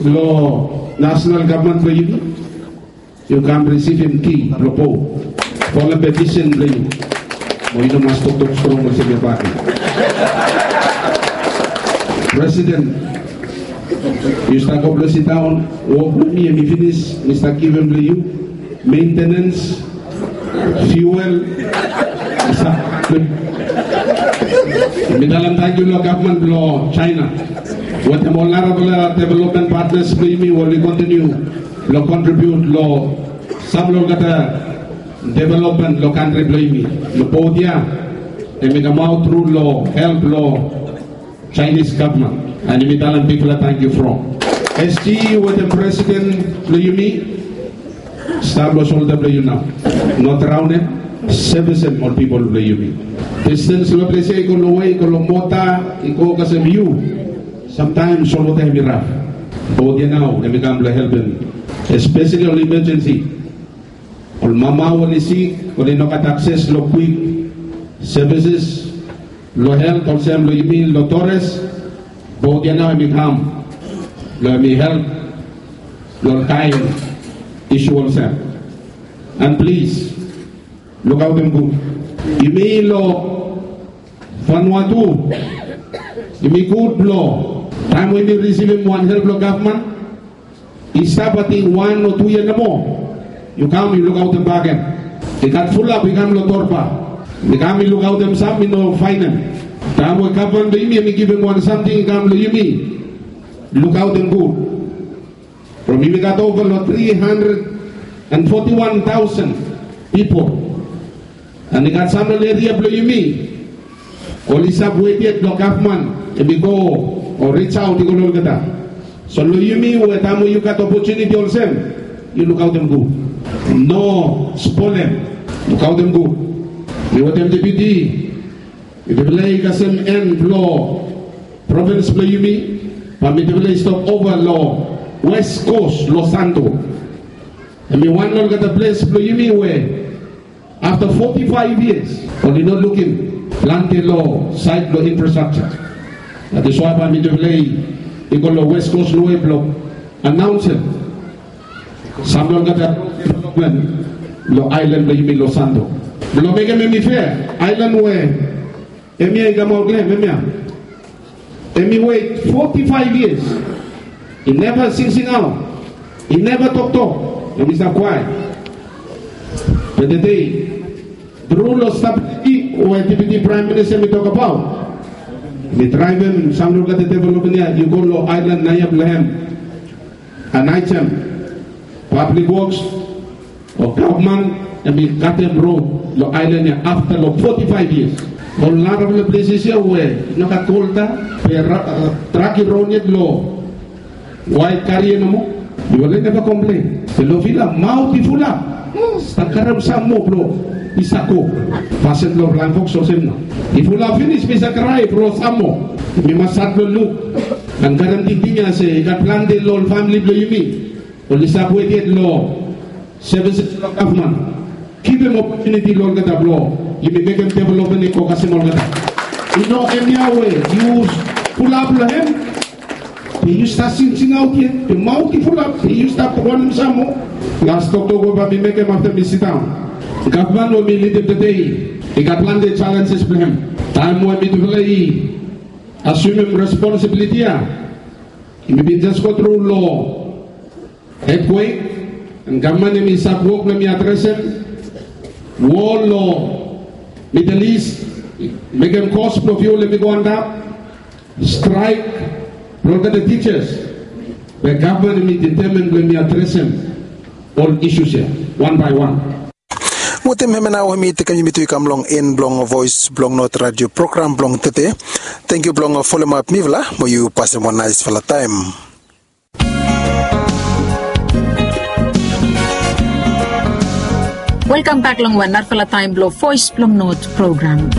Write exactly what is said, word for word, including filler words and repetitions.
Long nasonal gavman blong yumi, yu kam risivim ki blong bo fo long pevisen blong yu. Mo yu no mas toktok strong olsem ya bak. Presiden, yu stap go blong sidaon. Wok blong mi hemi finis, mi stap givim blong yu. Mentenens, fuel. Mi talem tangkiu long gavman blong China wetem ol narafala developmen patnas blong yumi we oli kontiniu blong kontribiut long sam long olgeta developmen long kantri blong yumi. Long bot ya hemi kamaot tru long help blong Chinese gavman. And yumi talem bigfala tangkiu from SG wetem presiden blong yumi. Stap long solda blong yu nao. No draonem, sevisem ol pipol blong yumi. Distens long ples ya i go longwe, i go long mota, i go kasem yu. Samtaem solwota hemi raf. Bot ya nao hemi kam blong helpem, espeseli ol imajensi. Ol mama we oli sik, oli no gat akses long kwik sevises long helt olsem long yumi long Torres. Bot ya nao hemi kam blong hemi help long ol kaen isu olsem. And plis, lukaotem gud. Yumi long Vanuatu, yumi gud blong taem we yumi risivim wan help long gavman, i stap ating wan o tu yia nomo, yu kam yu lukaotem bakegen. I gat fulap i kam long torba, i kam i lukaotem sam i no faenem. Taem we gavman blong yumi hemi givim wan samting i kam long yumi, lukaotem gud. From yumi gat ova long tri handred and foti wan taosen pipol. And i gat sam long eria blong yumi oli stap wet yet blong gavman hemi go o ris aot i go long olgeta. So long yumi we taem we yu gat opotuniti olsem, yu lukaotem gud. No spolem. Lukaotem gud. Mi wetem deputi, mitufala i kasem en blong provins blong yumi, bae mitufala i stap ova long West Coast, Los Santos. Hemi wan long olgeta ples blong yumi we afta foti faev yias oli no lukim plante long saed blong infrastructure. That is why bae mitufala i go long West Coast long we blong anaonsem sam long olgeta developmen long aelan blong yumi Los Santos. Blong mekem hemi fea, aelan we hemia i kamaot long hem, hemia, hemi wet foti faev yias. I neva singsingaot, i neva toktok, hemi stap kwaet. Be tede, tru long stabiliti we Deputi Praem Minista hemi tokbaot, mi draevem sam long olgeta developmen ya i go long aelan naoia blong hem. Anaetem, Public Works o gavman hemi katem rod long aelan ya afta long foti faev yias. Ol narafala pleses ya we i no gat kolta, be trak i ron yet long waet karia nomo, yufala i neva komplen. Be long Vila maot i fulap, stap karem sam moa blong i save go. Fasin blong Flaeng Foks olsem nao, i fulap finis, mi save krae blong sam moa. Mi mas stat blong luk and karem tingting ya se i gat plante long ol famili blong yumi oli stap wet yet long sevises blong gavman. Givim opotuniti long olgeta blong yumi mekem developmen i go kasem olgeta. I no hemia we yu fulap long hem, be yu stap singsingaot yet, be maot i fulap, be yu stap wantem sam moa. Las toktok we bae mi mekem afta mi sidaon. Gavman we mi lidim tede i gat plante jalenjes blong hem. Taem we mitufala i asumem responsibiliti ya, mi bin jes go tru long earthquake, and gavman hemi stap wok blong hemi adresem wol long Middle East, mekem kos blong fiul hemi go antap, straek blong olgeta tijas. Be gavman hemi detemen blong hemi adresem ol isus ya wan bae wan. Wetem hemia nao hemi tekem yumi tu i kam long en blong Voes blong Not Radio program blong tede. Tangkiu blong folem ap mifala, mo yu pasem wan naesfala taem. Welkam bak long wan narafala taem blong Voes blong Not program.